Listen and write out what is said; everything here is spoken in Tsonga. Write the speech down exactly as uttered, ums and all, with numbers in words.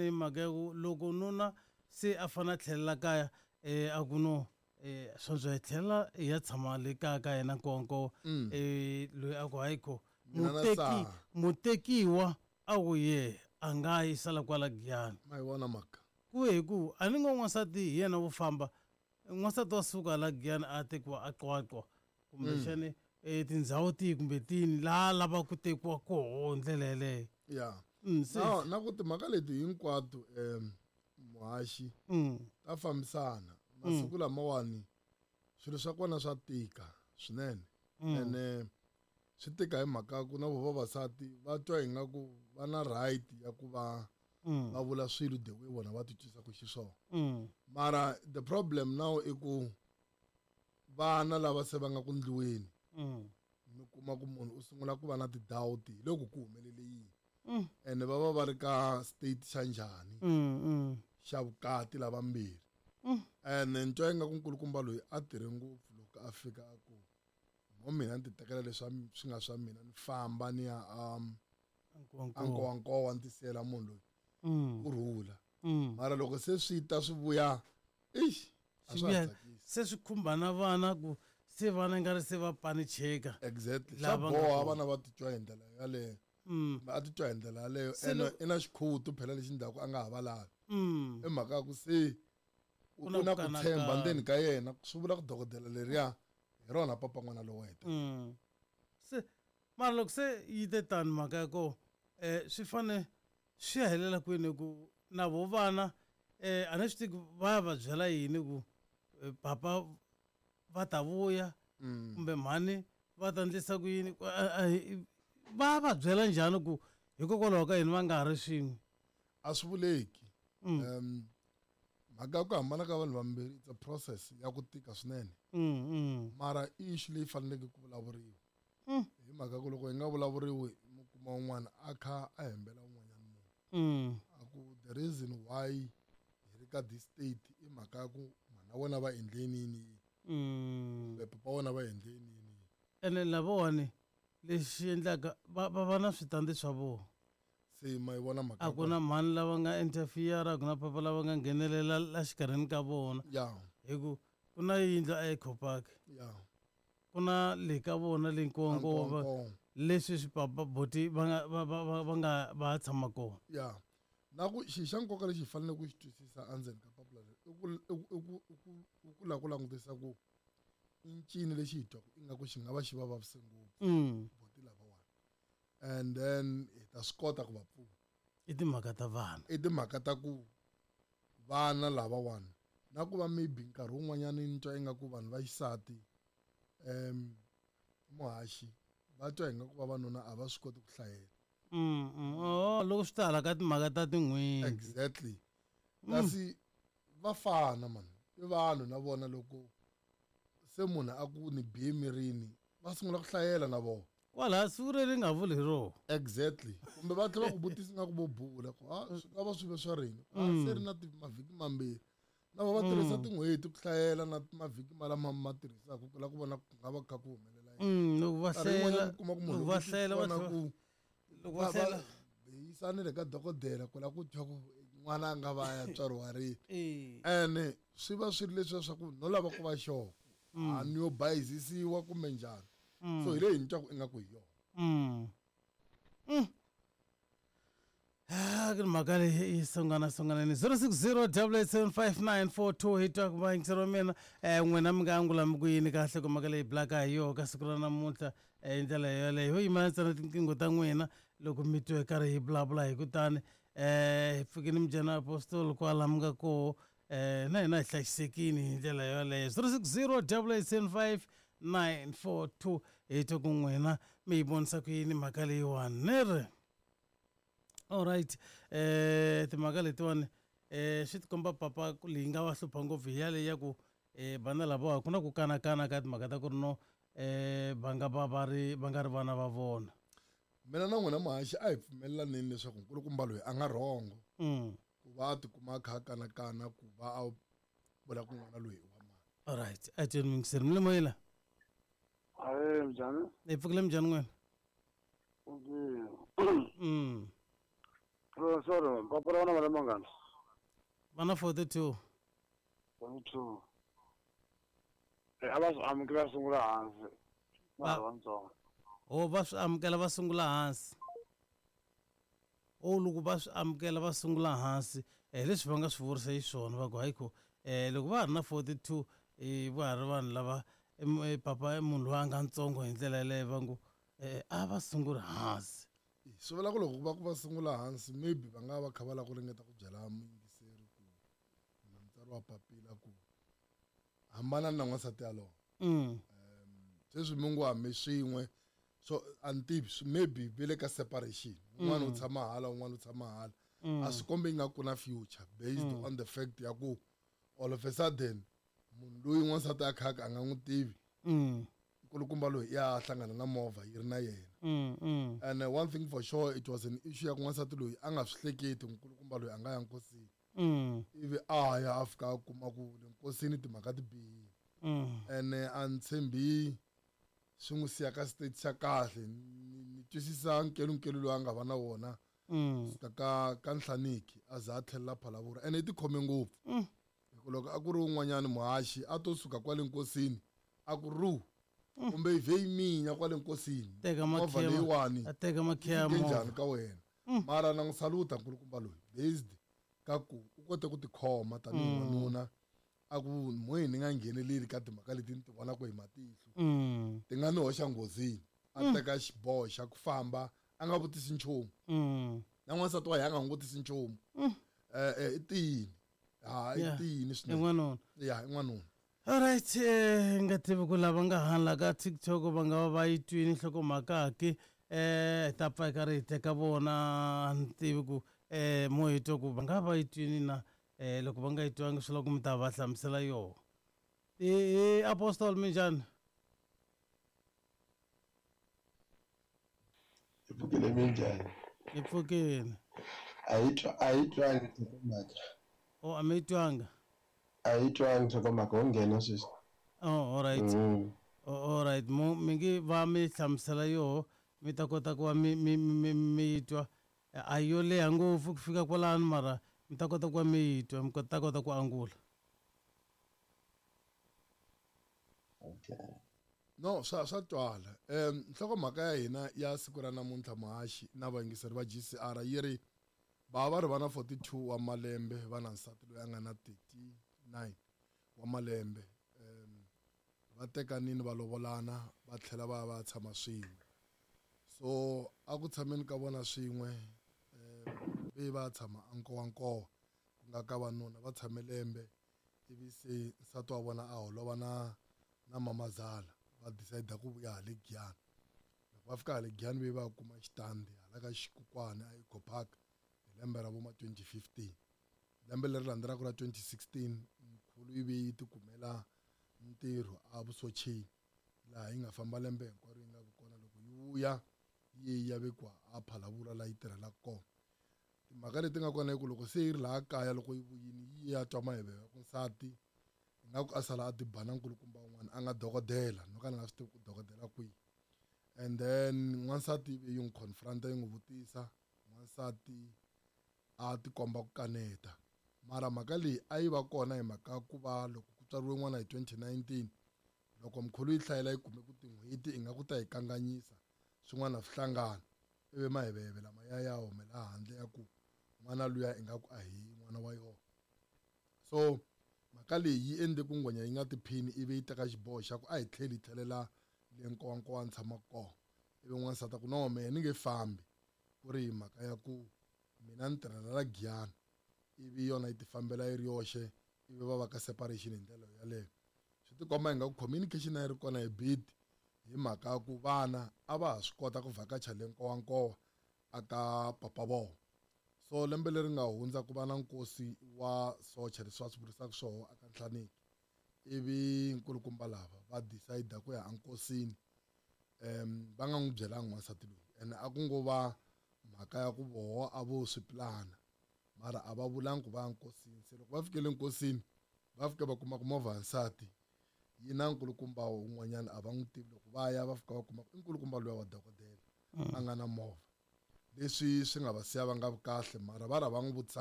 Ni mhaka ya ku loko nuna se a fane a tlhelela kaya um a ku no um sweswo hi tlhela hi ya tshama le kaya ka yena nkonko um loyi a ku hayi kho Mina na muteki Saha. mutekiwa a ku ye a nga yi sala kwala Giyani. Ma yi vona mhaka. Ku hi ku a ni ngo n'wansati hi yena wo famba, n'wansati wa suka la Giyani a tekiwa a Qwaqwa kumbexani eh, tindhawu tihi kumbe tini laha lavaka ku tekiwa koho hi ndlela yeleyo. Ya. Mm, se Na na ku timhaka leti hinkwato um muhaxi mm, ta fambisana. Masiku lamawani swilo swa kona swa tika swinene. mm, Ene swi tika hi mhaka ya ku na vo vavasati va twa ingaku va na right ya ku va mm, va vula swilo the way vona va titwisaka xiswona. mm, Mara the problem now i ku vana lava se va nga ku ndliweni mm, mi kuma ku munhu u sungula ku va na ti-doubt hi loko ku humelele yini. mm, Ene va va va ri ka state xa njhani mm, mm, xa vukati lavambirhi. mm. Ene ni twa ingaku nkulukumba loyi a tirhe ngopfu loko a fika a ku mo mina ni ti tekela leswi swi nga swa mina ni famba ni ya um Nkowankowa. a Nkowankowa ni tisiyela munhu loyi Mm, ku rhula. mm. Mara loko se swi ta swi vuya ixi a Swi swa ha vuya tsakisi. se swi khumba na vana ku se vana nga ri se va panicheka. Exactly. Swa Lava nga boha kona. vana va titwa hi ndlela yaleyo. Mm, Kumbe a titwa hi ndlela yaleyo Se ene lo- i na xikhutu phela lexi ndzhaku a nga ha va lavi. mm. I mhaka ya ku se u Ku na u na ku ku tshemba kanakana. ndzeni ka yena swi vula ku dokodela leriya hi rona papa n'wana lowo heta. Mm. Se mara loko se yi te tani mhaka ya koho um swi fane swi ya helela kwini ku na vo vana um a ni swi tivi ku va ya va byela yini ku eh, papa va ta vuya Mm. kumbe mhani va ta endlisa ku yini Ku- a- a- hi- va va byela njhani ku hikokwalaho ka yini va nga ha ri swin'we. A swi vuleki. Mm. Um mhaka ya ku hambana ka vanhu vambirhi it's a process ya ku tika swinene. Mm, mm. Mara i issue leyi faneleke ku vulavuriwa. Mm. Hi mhaka ku loko yi nga vulavuriwi mi kuma un'wana a kha a hembela un'wanyana munhu. Mm. A ku the reason why hi ri ka this state i mhaka ya ku mhana wena va endle yini yini yini Mm. kumbe papa wena va endle yini yini yini. Ene lavawani lexi endlaka va va va na switandi swa vona. Se ma yi vona mhaka A ya ku kona. na mhani lava nga interfere, a ku na papa lava nga nghenelela la xikarhini ka vona. Ya. Hi ku ku na yindlu a Eco Park, Ya. ku na le ka vona le Nkowankowa va- Nkowankowa. leswi swi papa boti va nga va va va va nga va ha tshama kona. Ya. Na ku xi xa nkoka lexi hi faneleke ku xi twisisa endzeni ka papila leri i ku i ku i ku i ku i ku lava ku langutisa ku i ncini lexi hi twaku ingaku xi nga va xi va vavise ngopfu Mm. boti lavawani. And then hi ta swi kota ku va pfuna. I timhaka ta vana. I timhaka ta ku vana lavawani na ku va maybe nkarhi wun'wanyani ni twa ingaku vanhu va xisati um muhaxi va twa ingaku vavanuna a va swi koti ku hlayela. Mm, mm. Oh, loko swi ta hala ka timhaka ta tin'hweti. Exactly. Kasi va fana man. I vanhu na vona loko se munhu a ku ni bihe emirini va sungula ku hlayela na vona. Kwalaha siku leri nga vuli hi rona. Exactly. Kumbe va tlhela va ku vutisa ingaku vo bula ku a swi nga va swi ve swa rini. A se ri na ti mavhiki mambirhi. Na vona va tirhisa tin'hweti ku hlayela na mavhiki malama ma tirhisaka ku lava ku vona ku nga va kha ku humelela yini. Mm, loko va Nkarhi hlayela wun'wanyana mi kuma ku munhu loko va loko u hlayela va vona tlhela- ku loko va va hlayela va yisanile ka dokodela ku lava ku twa ku n'wana a nga va ya tswariwa rini. Eh. Ene swi va swi ri leswiya swa ku no lava ku va sure. A ni yo bayizisiwa kumbe njhani. So hi leyi ni twaku ingaku hi yona. Mm. Mm. Ah, ku ni mhaka leyi yi sungana sunganeni zero six zero double eight seven five nine four two hi twa ku vayingiseri wa mina um n'wina mi nga angula mi ku yini kahle ku mhaka leyi bulaka hi yoho ka siku ra namuntlha um hi ndlela yoleyo ho yimela ntsena tinqingho ta n'wina loko mi twe karhi hi vulavula hi kutani um hi pfukini mujana apostol kwala mi nga koho um na hina hi hlayisekini hi ndlela yoleyo zero six zero double eight seven five nine four two hi twa ku n'wina mi yi vonisa ku yini mhaka leyiwani ni ri alright eh timhaka letiwani eh swi tikomba papa ku leyi nga va hlupha ngopfu hi yaleyi ya ku eh vana lavawa ku na ku kanakana ka timhaka ta ku ri no eh va nga va va ri va nga ri vana va vona. Mina na n'wina muhaxi a hi pfumelelaneni leswaku nkulukumba loyi a nga rhongo Mm. ku va a tikuma a kha a kanakana ku va a vula ku n'wana loyi i wa mani. Alright a tweni muyingiseri mi le moyeni la. Ahee, minjhani? Hi pfukile minjhani n'wina? Okay. Mm. Sorry, papa ra vona mangani? Vana forty-two. forty-two. Eh, a va swi amukela va sungula hansi. Va ri vantsongo. Oh, va swi amukela va sungula hansi. Oh, loko va swi amukela va sungula hansi, eh leswi va nga swi vurisa xiswona va ku hayi ko eh loko va ha ri na forty-two eh va ha ri vanhu lava papa i munhu loyi a nga ntsongo hi ndlela yaleyo va ngo eh a va sunguli hansi. Swi vula ku loko va ku va sungula hansi maybe va nga va kha va lava ku ringeta ku byela muyingiseri ku kumbe mutsari wa papila ku hambana na n'wansati yalowo. Mm. Sweswi mi ngo hambi swin'we so a ni tivi maybe ve le ka separation un'wana u tshama hala un'wana u tshama hala a swi kombi ingaku na future based mm. on the fact ya ku all of a sudden munhu loyi n'wansati a khaka a nga n'wi tivi mm. nkulukumba loyi ya hlangana na movha yi ri na yena. Mm, mm. And uh, one thing for sure, it was an issue ya ku n'wansati loyi a nga swi hleketi nkulukumba loyi a nga ya nkosini. Mm. Ivi a ya a fika a kuma ku le nkosini timhaka ti bihile. Mm. And uh, a ni tshembi swi n'wi siya ka state xa kahle. Ni twisisa nkelunkelu loyi a nga va na wona mm. suka ka ka Nhlaniki a za a tlhelela Phalaborwa ene i tikhome ngopfu. Mm. Hikuva loko a ku ri un'wanyani muhaxi a to suka kwale nkosini a ku ru kumbe yi vhe yi minya kwale nkosini teka movha leyiwani a teka makhiya yi njhani ka wena. Mara na n'wi saluta nkulukumba loyi based ka ku u kote ku tikhoma tanihi n'wanuna a ku moyeni ni nga ngheneleli ka timhaka leti ni ti vonaka hi matihlo ti nga ni hoxa nghozini a teka xiboho xa ku famba a nga vutisi nchumu na n'wansati wa yena a nga n'wi vutisi nchumu. Eh i tiyini ha i tiyini swinene n'wanuna ya i n'wanuna. Alright, eh nga tivi ku lava nga hala ka TikTok va nga va va yi twini nhlokomhaka ke eh ta pfa ka ri teka vona ni tivi ku eh mo hi twa ku va nga va yi twini na eh loko va nga yi twangi swi lava ku mi ta va hlamusela yoho. Eh Apostle minjhani? Hi pfukile minjhani? Hi pfukile. A yi twa a yi twangi nhlokomhaka. Oh, a mi yi twanga? A yi twangi nhlokomhaka wo nghena sweswi. Oh, all right. Mm. Oh, all right. Mo mi nge va mi hlamusela yoho mi ta kota ku va mi mi mi mi yi twa. A yo leha ngopfu ku fika kwalano mara mi ta kota ku va mi yi twa mi ta kota ku angula. Okay. No, swa swa twala. Um nhlokomhaka ya hina ya siku ra namuntlha muhaxi na vayingiseri va G C R yi ri va va ri va na forty-two wa malembe va na nsati loyi a nga na thirty-nine wa malembe. Um va tekanini va lovolana va tlhela va va tshama swin'we. So a ku tshameni ka vona swin'we um ve va tshama a Nkowankowa ku nga ka vanuna va tshame lembe ivi se nsati wa vona a holova na na mamazala va decide ku vuya hale Giyani. Loko va fika hale Giyani ve va kuma xitandi hala ka Xikukwana a Eco Park hi lembe ra vo ma twenty fifteen. Lembe leri landzelaka ra twenty sixteen mkhulu yi ve yi tikumela ntirho a Vusocheni laha yi nga famba lembe hinkwaro yi nga vi kona loko yi vuya yi ya vekiwa a Phalaborwa laha yi tirhelaka kona. Timhaka leti nga kona i ku loko se yi ri laha kaya loko yi vuyile yi ya twa mahevhevhe ya ku nsati ingaku a sala a ti ba na nkulukumba un'wana a nga dokodela no ka ni nga swi tivi ku dokodela kwihi. And then n'wansati yi n'wi confront yi n'wi vutisa n'wansati a tikomba ku kaneta mara mhaka leyi a yi va kona hi mhaka ku va loko ku tswariwe n'wana hi twenty nineteen loko mkhulu yi hlayela yi kume ku tin'hweti ingaku ta yi kanganyisa swin'wana swi hlangana ivi mahevhevhe lama ya ya humela handle ya ku n'wana luya ingaku a hi n'wana wa yona. So mhaka leyi yi endle ku ngwenya yi nga tiphini ivi yi teka xiboho xa ku a hi tlheli hi tlhelela le Nkowankowa ni tshamaka kona. Ivi n'wansati a ku no mehe ni nge fambi ku ri hi mhaka ya ku mina ni tirhela la Giyani ivi yona yi tifambela yi ri yoxe ivi va va ka separation hi ndlela yaleyo. Swi tikomba ingaku communication a yi ri kona hi bit hi mhaka ya ku vana a va ha swi kota ku vhakacha le Nkowankowa a ka papa vona. So lembe leri nga hundza ku va na nkosi wa socha leswi va swi vurisaka swoho aka Nhlaniki ivi nkulukumba lava va decide ku ya enkosini um va nga n'wi byelanga n'wansati loyi ene a ku ngo va mhaka ya ku voho a vo swi plana mara a va vulangi ku va ya nkosini. Se loko va fikele nkosini va fika va kuma ku movha ya nsati yi na nkulukumba un'wanyana a va n'wi tivi loko va ya va fika va kuma ku i nkulukumba luya wa dokodela a nga na movha. Leswi swi nga va siya va nga vi kahle, mara va ra va n'wi vutisanga.